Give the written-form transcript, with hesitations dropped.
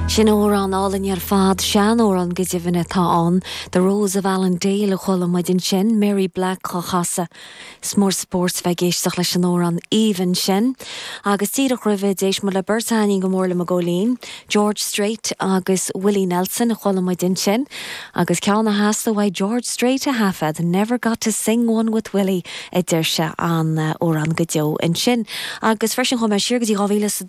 Sin amhrán álainn ar fad, seanamhrán go deimhin atá ann, The Rose of Allandale a chuala muid ansin, Mary Black á chasadh. Is mór spórt bheith ag éisteacht leis an amhrán aoibhinn sin. Agus díreach roimhe, d'éist muid le beirt a thaitníonn go mór liom i gCóilín, George Strait agus Willie Nelson a chuala muid ansin. Agus ceann a theastaigh uaidh George Strait a thaifead, Never Got to Sing One with Willie a deir sé, an-amhrán go deo ansin. Agus freisin chuaigh mé siar go dtí 2000.